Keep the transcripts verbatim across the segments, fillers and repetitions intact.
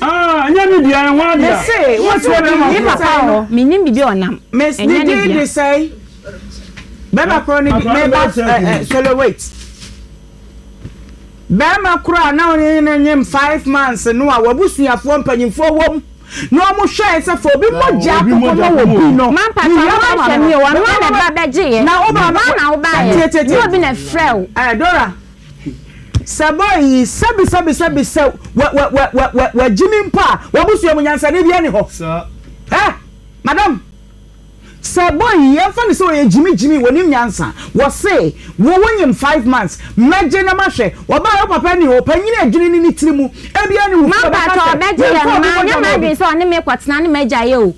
Ah, ɛnyɛ ne dea, ɛho adea. Mese, Wote bɛrima Ne korɔ. papa wɔ hɔ, menim biribi a ɔnam. Miss Ɛnyɛ ne ne din dea. de sɛn? Bɛrima korɔ ne di Akwadaa no meba bɛyɛ sɛ ɛ ɛ solo, wait. Bɛrima korɔ a na ɔne ne nyem five months no a wabusuafoɔ mpanyinfoɔ wɔm na wɔn hwɛɛ sɛ fo obi mogya Obi akokɔ mogya ma wɔ akokɔ bi no. Ma mpatwa Mewia ɔno bɛrima ahwɛ no. mi o, ɔno a na ɛba bɛgye yɛ. Na wo maame Ɔno na wobaayɛ. Tie, tie, tie. Nyɛ obi na ɛfrɛ wo. Ɛ Dora, sɛ boy yi, sɛbi sɛbi sɛbi, sɛ wɔ wɔ wɔ wɔ wɔ wɔgyi mi mpo a, wabusua mu nyansane bi ɛni hɔ. Saa. Ɛ madam, sɛ boy yi, yɛmfa ne sɛ ɔyɛ gyimigyimi, wɔnim nyansa, wɔse wo wonyim five months, mɛgye na mahwɛ wɔbaa wo papa ni hɔ, panyini adwene ne ne tiri mu ebia ne wo Ma fie ɔbɛka mpatwa sɛ ɔbɛgye yɛ yɛmfa no obi ma mogya nyɛ ma obi. m'adwene sɛ ɔne me kɔtena ne m'agya yɛ o.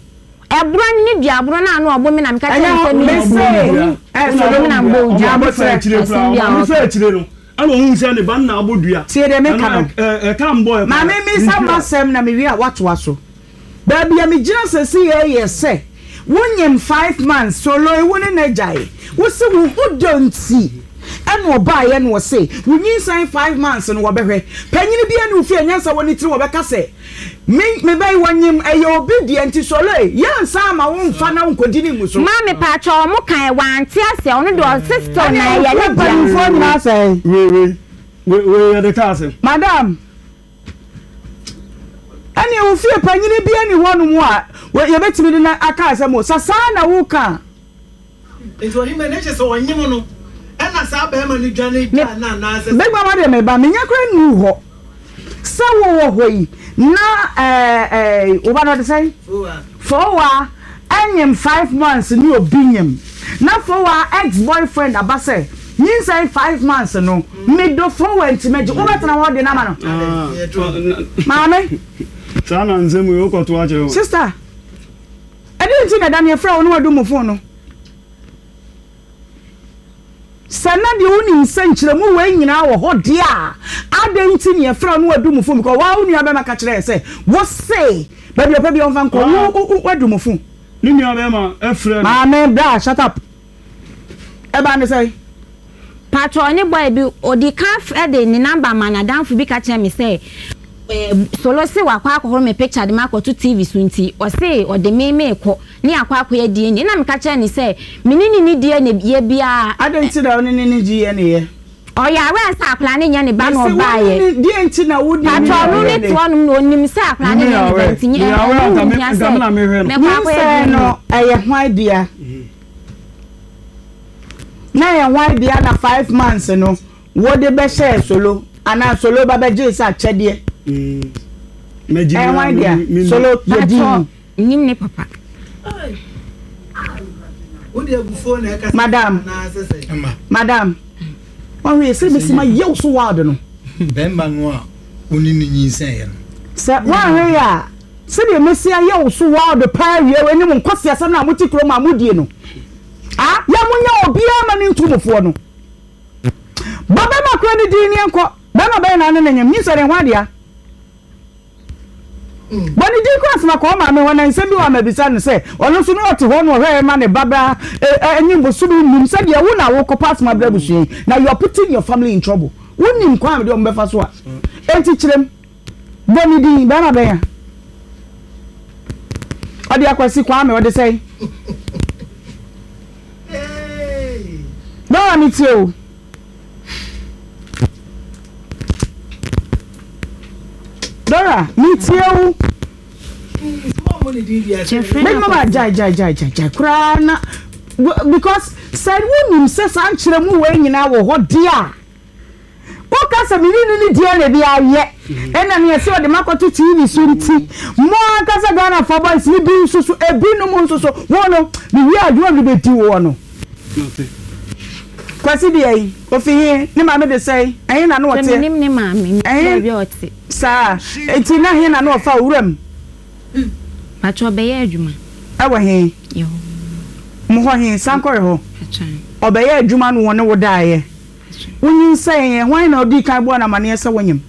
Ɛborɔ ne ne dua aborɔ no a na ɔbɔ mi na meka kyerɛ Ɛnyɛ no hɔ sɛ mi mese ɛ Solo solo na mbɔ wo dua. Ɔmaame fɛ akyire koraa, ɔmaame fɛ akyire no ɛna ohun sɛ ne ba no na abɔ dua. Tie deɛ meka no. Ɛna ɛka mbɔ ɛ Maame, misa masɛm na mewie a woatoa so. Baabi a megyina sɛsi yɛ yɛ sɛ wonyim five months, Solo, ewu ne n'agyae, wosi wo ho dɔ nti ɛna ɔbaayɛ no, wɔse wonyinsɛn five months no, wɔbɛhwɛ panyini bi ani wo fie nyansa wɔ ne tiri, wɔbɛka sɛ me me bɛyi wɔnyim ɛyɛ obi deɛ nti, Solo, yɛnsa ama wo mfa na wo nkɔdi ne ngu so. Ma mepatwa ɔmo kan wante ase, ɔno deɛ ɔse still na ɛyɛ ne dea. Mpanimfoɔ nyinaa sɛ wei wei wei wei yɛde kaa asɛm. Madam, ɛne wo fie panyini bi ani hɔ nom a wɔ- yɛbɛtumi de na aka asɛm o sa saa na woka. Nti ɔhema ne kyɛ sɛ ɔnyem no ɛna saa bɛrima no dwane gya na anaasɛ Big Mama deɛ, meba menya kora nnu hɔ sɛ wowɔ hɔ yi na ɛɛ ɛɛ woba no ɔde sɛn Fowa ɛnyim five months ne obi nyim na Fowa ex boyfriend aba sɛ nyinsɛn five months no medo Fowa, nti mɛgye wobɛtena hɔ de nama no maame. Saa na nsɛm wei wokɔto akyerɛ wo. Sister, ɛde nti na ɛda ne yɛfrɛ wo ne wadu mu phone no sɛ na deɛ wonim sɛ nkyerɛmu wei nyinaa wɔ hɔ deɛ a, adɛn nti ne yɛfrɛ wo ne wadu mu phone? Because waa wo nua bɛma ka kyerɛ yɛ sɛ wo se baabi ɔpɛ bi ɔmfa nkɔ wo wo- wo wadu mu phone. Ne nua bɛrima ɛfrɛ no. Maame bra, shut up. Ɛba ne sɛ Patro, ɔne boy bi ɔdi ka f- de ne number ma n'adamfo bi ka kyerɛ me sɛ ɛɛ Solo se wakɔ akɔhoro me picture de ma akɔto T V so, nti ɔse ɔde me me kɔ ne akɔ akɔyɛ D N A, na meka kyerɛ ne sɛ me ne ne ni D N A yɛ biara. Adɛn nti na wo ne ne ne gye yɛ ne yɛ? Ɔyɛ awɛ sɛ akwadaa ne nyɛ ne ba na Mese wo ɔbaayɛ. ne ne- deɛ nti na wo ne Patro, ɔno ne te hɔnom na onim sɛ akwadaa ne nyɛ ne ba, nti nyɛ Meyɛ awɛ ɛho anka me- nhia nka sɛ me na mehwɛ no. mɛkɔ akɔyɛ Nyinsɛn D N A. no ɛyɛ hwan dea? Na ɛyɛ hwan dea na five months no wɔde bɛhyɛ Solo anaa Solo ba bɛgye sɛ akyɛdeɛ? Mɛgye. Ɛyɛ hwan dea, Solo? Yɛ Patro, din. nim ne papa. Wode abufuo na ɛkasa Madam. anaasɛ sɛ Madam, ɔhwɛ yɛ sɛ bɛsi ma yɛw so wild no. Bɛrima no a wo ne ne nyinsɛn no Sɛ woahwɛ yɛ a, sɛdeɛ mɛsi ayɛ wo so wild paa wie anim nkɔsi asɛm no a mote kurom a modie no a, yɛ monyɛ obiara ma ne ntomofoɔ no bɔ. Bɛma kora no din ne yɛnkɔ. Bɛma bɛyɛ na ne ne nyam nyinsɛ ne ho adea bɔ ne din kora asɛm akɔ maame hɔ na nsɛm bi wɔ amabisa no sɛ ɔno nso no ɔte hɔ no ɔhwɛ ma ne babra ɛnyim bosome nnum sɛdeɛ wo na wokɔpa asɛm abrɛ abusua yi na you are putting your family in trouble. Wonim kwan a mede ɔmo bɛfa so a, enti kyerɛm, bɔ ne din. Bɛrima bɛn a ɔde Akwasi Kwame ɔde sɛn? Bɛrima mi tie o. Dora, mi tie o. Kyɛfrɛ. Big Mama, gyae gyae gyae gyae gyae koraa na because sɛ wonim sɛ saa nkyerɛmu wei nyinaa wɔ hɔ deɛ a, woka sɛ mene ne ne deɛ na bi ayɛ ɛna neɛ sɛ ɔde makɔto T V so, nti mo ankasa Ghanafoɔ boys ne bi nso so, ebinom nso so wo no mewie adwuma bi bɛdi woɔ no. Kwasi deɛ yi ofi he? Ne maame de sɛe ɛhe na ne Sɛ ɔteɛ? menim ne maame, menim Ɛhe? baabi a ɔte. Saa enti na he na ne ɔfa owura mu? Patro, ɔbɛyɛ adwuma. Ɛwɔ he? Yɛ hɔ. Mo hɔ he? Sankɔre hɔ? Patro. Ɔbɛyɛ adwuma no wɔ ne wo daeɛ, wonyinsɛn yɛ hwan na ɔdii kan bɔɔ no amanneɛ sɛ wonyim?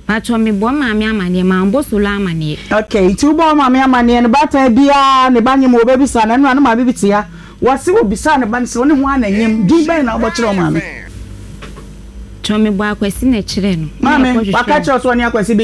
Patro, mebɔ maame amanneɛ, mambɔ Solo amanneɛ. Okay, nti wobɔ wo maame amanneɛ no, baatan biara ne ba nyim, wɔbɛbisa no. Ɛno a ne maame bi te ha, wɔse wɔbisaa ne ba no sɛ wo ne ho ana nyim, din bɛn na wobɔkyerɛ wo maame? Patro, mebɔ Akwasi na ɛkyerɛ no. Maame waka kyerɛ wo sɛ ɔne Akwasi bi